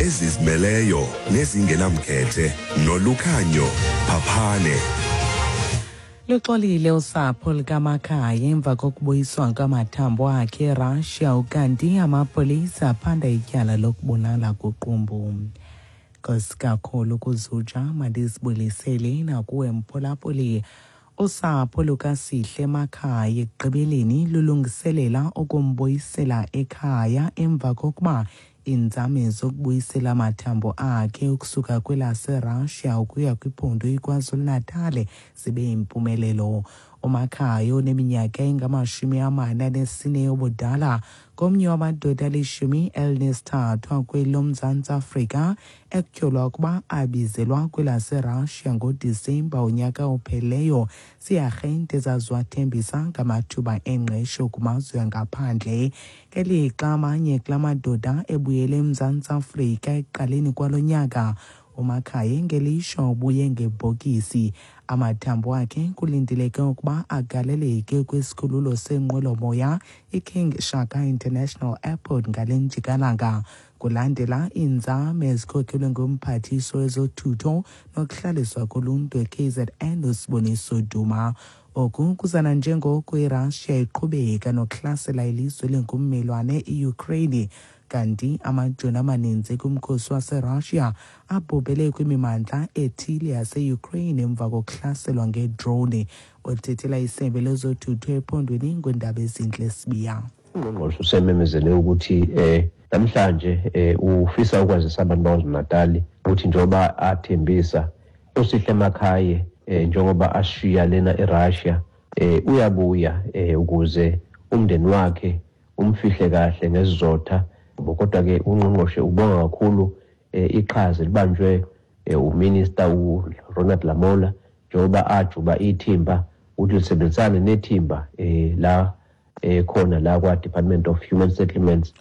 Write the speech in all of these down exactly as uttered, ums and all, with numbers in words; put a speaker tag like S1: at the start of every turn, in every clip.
S1: Ezizimeleyo nezingenamkhethe noLukhanyo Phaphane.
S2: Luxolile usapho likaMakhaya emva kokubuyiswa kwamathambo akhe eRussia, ukanti amapolisa aphanda ityala lokubulala kuQumbu. Nkosi kakhulu kuzuja, mandizibulisele nakuwe mphulaphuli. Usapho lukaSihle Makhaya ekugqibeleni lulungiselela ukumbuyisela ekhaya emva kokuba iinzame zokubuyisela amathambo akhe ukusuka kwelaseRussia ukuya kwiphondo iKwaZulu-Natal zibe yimpumelelo. UMakhaya oneminyaka engamashumi amane anesine yobudala ngomnye wamadoda alishumi elinesithathu akweli loMzantsi Afrika ekutyholwa ukuba abizelwa kwelaseRussia ngoDisemba unyaka ophelileyo ziiarhente ezaziwathembisa ngamathuba engqesho kumazwe angaphandle. Ngelixa amanye kula madoda ebuyele eMzantsi Afrika ekuqaleni kwalo nyaka, uMakhaya ngelishwa ubuye ngebhokisi. Amathambo akhe kulindeleke ukuba agaleleke kwisikhululo seenqwelomoya iKing Shaka International Airport ngale njikalanga, kulandela iinzame ezikhokelwe ngumphathiswa wezothutho nokuhlaliswa koluntu e K Z N uSiboniso Duma. Oku kuzana njengoko iRussia iqhubeka nokuhlasela ilizwe lengummelwane iUkraine, kanti amajoni amaninzi kumkhosi waseRussia abhubhele kwimimandla ethile yaseUkraine emva kokuhlaselwa ngedrone. Othethela isebe lezothutho ephondweni nguNdabezinhle Sibiya.
S3: Ungqongqoshe usememezele ukuthi eh namhlanje eh ufisa ukwazisa abantu baKwaZulu-Natal ukuthi njengoba athembisa uSihle Makhaye, eh njengoba ashiya lena eRussia, eh uyabuya eh ukuze umndeni wakhe umfihle kahle ngesizotha. Kodwa ke ungqongqoshe ubonga kakhulu eh, iqhaza libanjwe eh, uminister uRonald Lamola njengoba ajuba ithimba ukuthi lisebenzisane nethimba eh la eh khona la kwa Department of Human Settlements.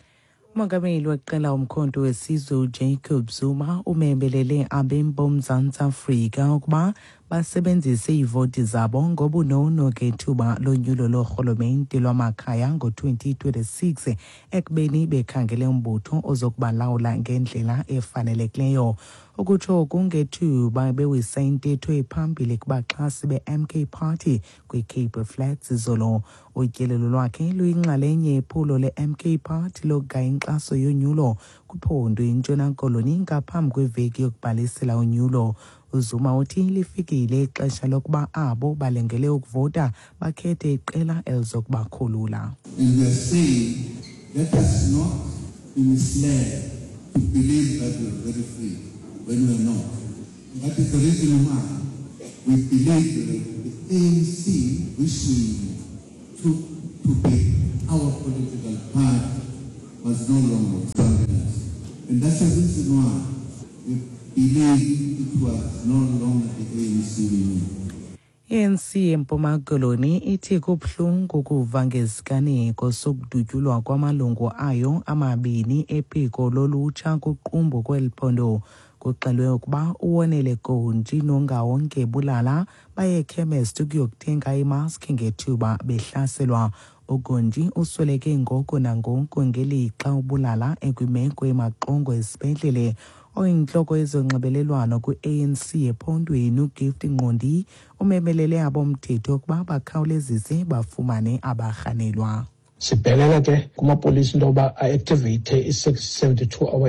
S2: Umongameli weqela uMkhonto weSizwe uJacob Zuma umembelele abemi boMzantsi Afrika ukuba basebenzise iivoti zabo ngobunono ngethuba lonyulo loorhulumente lwamakhaya ngo-twenty twenty-six, ekubeni bekhangele umbutho ozokubalawula ngendlela efanelekileyo. Ukutsho oku ngethuba bewisa intetho ephambili kubaxhasi be-M K Party kwiCape Flats izolo. Utyelelo lwakhe luyinxalenye yephulo le-M K Party lokugaya inkxaso yonyulo kwiphondo iNtshona Koloni ngaphambi kweveki yokubhalisela unyulo. UZuma uthi lifikile ixesha lokuba abo balengele ukuvota bakhethe iqela elizokubakhulula.
S4: And we are saying, let us not be misled to believe that we are very free when we are not. And that is the reason why we believe that the A N C, which we took to be our political party, was no longer serving us. And that's the reason why we believe it was no longer the A N C we knew.
S2: I-A N C eMpuma Koloni ithi kubuhlungu ukuva ngesiganeko sokudutyulwa kwamalungu ayo amabini ephiko lolutsha kuQumbu kweli phondo. Kuxelwe ukuba uWonele Gontshi noNgawonke Bulala baye ekhemesti ukuyokuthenga imaski ngethuba behlaselwa. UGontshi usweleke ngoko nangoko ngelixa uBulala ekwimeko emaxongo esibhedlele. Oyintloko yezonxibelelwano kwi-A N C ephondweni uGift Nqondi umemelele abomthetho ukuba bakhawulezise bafumane abarhanelwa.
S5: Sibhelela ke kumapolisa into yoba a-activate i-seventy-two hour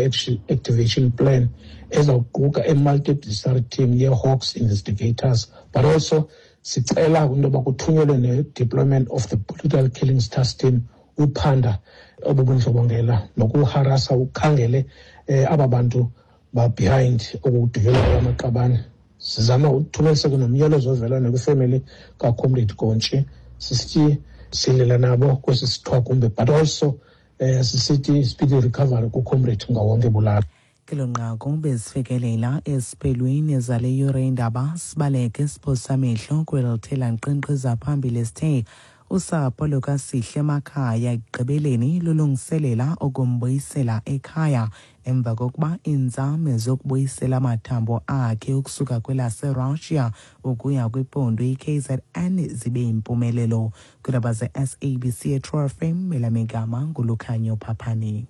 S5: activation plan ezawuquka i-multidisciplinary team ye-Hawks investigators, but also sicela into yoba kuthunyelwe ne-deployment of the brutal killings task team uphanda obu bundlobongela nokuharasa, ukhangele um aba bantu ba-behind okudutyulwa kwamaqabane. Sizama uthumelise ke nomyalezo ovelana kwifemeli kaComrade Gontshi, sisithi silela nabo kwesi sithwakumbe, but also um sisithi speedy recovery kuComrade Ngawonke Bulala.
S2: Kelo nqaku bezifikelela esiphelweni zale yure indaba. Sibaleke siphosa amehlo kwelithela nkqenkqeza phambili. Sithe usapho lukaSihle Makhaya ekugqibeleni lulungiselela ukumbuyisela ekhaya emva kokuba iinzame zokubuyisela amathambo akhe ukusuka kwelaseRussia ukuya kwiphondo i-K Z N zibe yimpumelelo. Kwiindaba ze-S A B C eTru F M, elamigama nguLukhanyo Phaphani.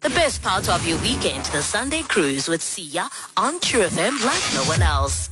S6: The best part of your weekend, the Sunday Cruise with Sia on True F M like no one else.